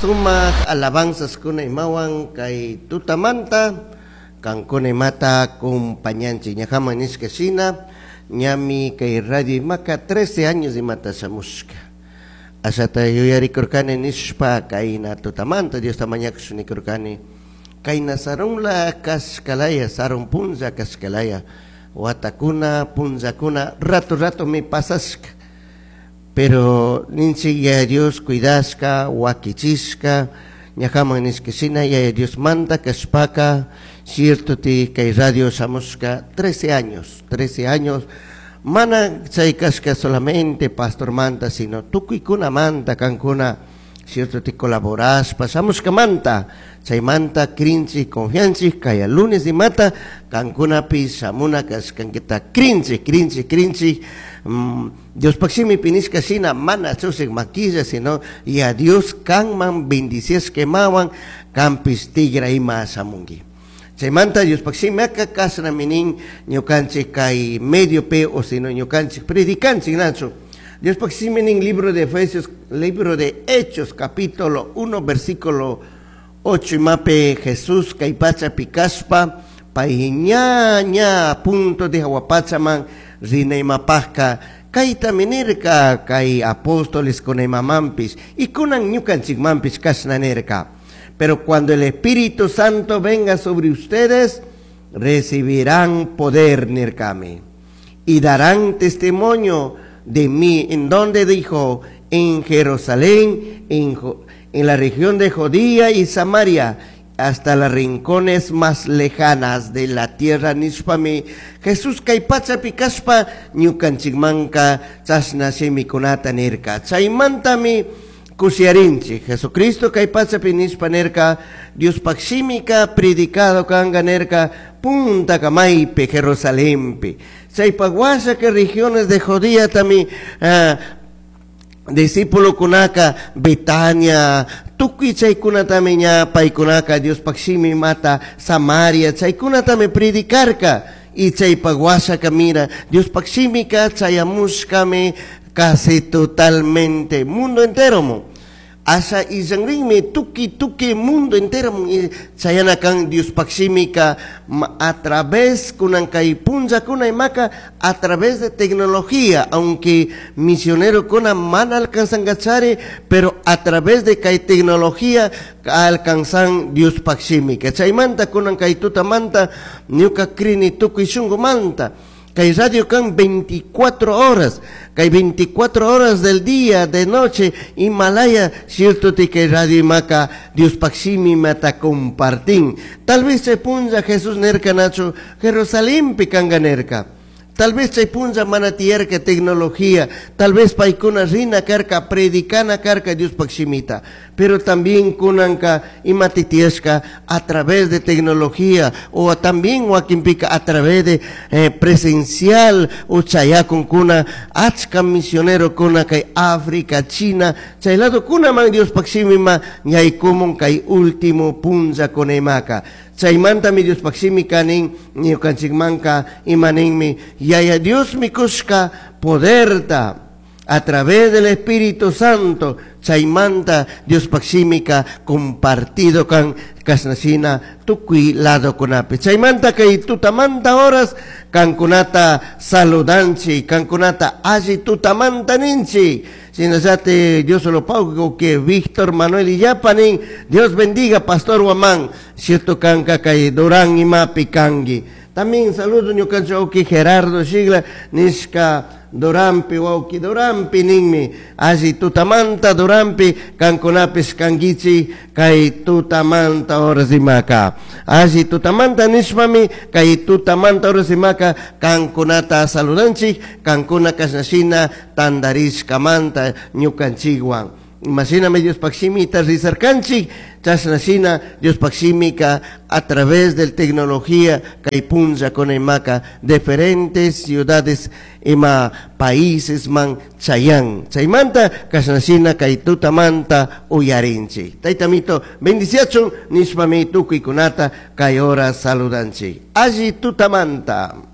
Sumaj alabanzaskuna imawan kay tutamanta kankuna imata compañanchik. Ñajaman nishka shina ñami kay radio imaka 13 años imata shamushka. Ashata yuyarikurkani nishpa kayna tutamanta Diosta mañakush nikurkani. Kayna sarunla kashkalaya, sarun punlla kashkalaya, watakuna, punllakuna, rato ratomi pasashka. Pero ninchik Yaya Dios cuidashka, wakichishka, ñajaman nishka shina Yaya Dios manda kashpaka, cierto ti kay radio shamushka 13 años, 13 años, mana chay kashka solamente pastor manta, sino tukuykunamanta kankuna, cierto ti colaborashpa shamushkamanta, chaymanta krinchik, confianchik, kaya lunes imata kankunapi shamuna kashkankita krinchik, krinchik, krinchik, Diospaq shimipi nishka shina mana chusik maquilla, sino y a Dios kanman bendiciashka imawan kanpish tigra ima shamunki. Chaymanta Diospaq shimiaka kashnami nin ñukanchik kay mediopi o sino ñukanchik predicanchik nachu. Diospaq shimi nin libro de Efesios, libro de Hechos, capítulo 1, versículo 8 imapi Jesús kay pachapi kashpa pay ña ña punto de jawa pachaman rina imapajka kaytami nirka kay apóstoles kuna imamanpish y kunan ñukanchikmanpish kashna nirka. Pero cuando el Espíritu Santo venga sobre ustedes, recibirán poder, nirkami, y darán testimonio de mí. ¿En dónde dijo? En Jerusalén, en la región de Judea y Samaria, hasta las rincones más lejanas de la tierra. Nishpami Jesús kay pachapi kashpa ñukanchikmanka chashna shimikunata nirka. Chaymantami kushiarinchik. Jesucristo kay pachapi nishpa nirka, Diospaq shimika predicado kanga nirka, punta kamaypi Jerusalenpi. Chaypaq washa que regiones de Judea tami, discípulo kunaka Betania, tukuy chaykunatami ña paykunaka Diospaq shimi mata Samaria, chaykunatami predicarka. Y chaypaq washaka mira, Diospaq shimika chayamushkami casi totalmente mundo entero mo. Asha illanrinmi tuki tuki mundo entero mo, y chayanakan Diospaq shimika a través kunan kay punlla kuna imaka a través de tecnología, aunque misionero kuna mana alcanzan gachari, pero a través de kay tecnología alcanzan Diospaq shimika. Chaymanta kunan kay tutamanta ñuka krini tukuy shunqumanta. Kay radio kan 24 horas, kay 24 horas del día, de noche, Himalaya, cierto te kay radio imaka, Diospaq shimi mata compartín. Tal vez se punja Jesús nerka nacho, Jerusalén pikanga nerka. Tal vez chay punlla mana tiyarka tecnología, tal vez paykuna rina karka, predicana karka Diospaq shimita, pero también kunanka imati tiyashka a través de tecnología o también wakinpika a través de presencial o chayakun kuna achka misionero kuna kay África, China, chay lado kuna man Diospaq shimima ñaykumun kay último punlla kunaymaka. Chaymanta mi Diospaq shimi kanin ñukanchikmanka imaninmi Yaya Dios mikushka poderta a través del Espíritu Santo. Chaymanta Diospaq shimika compartido kan kasnashina tukuy lado kunapi. Chaymanta kay tutamanta horas kankunata saludanchi, kankunata alli tutamanta ninchi. Sinasate Dios lo pago que Víctor Manuel y Yapanin, Dios bendiga Pastor Guamán, cierto kanka kay Durán y Mapi kangi. También saludo ñukancho que Gerardo Shigla, nishka Durampi, wauki Durampi ninmi, alli tutamanta Durampi, kankunapis kangichi, kay tutamanta orasimaka. Alli tutamanta nishpami, kay tutamanta orasimaka, kankunata saludanchik, kankuna kashnashina tandarishkamanta ñukanchikwan. Imashinami Diospaq shimita rizarkanchik, chashnashina Diospaq shimika a través de tecnología kay punlla kunaymaka diferentes ciudades ima países man chayan. Chaymanta kashnashina kay tutamanta uyarinchik. Taytamito bendiciachun nishpami tukuykunata kay hora saludanchik. Alli tutamanta.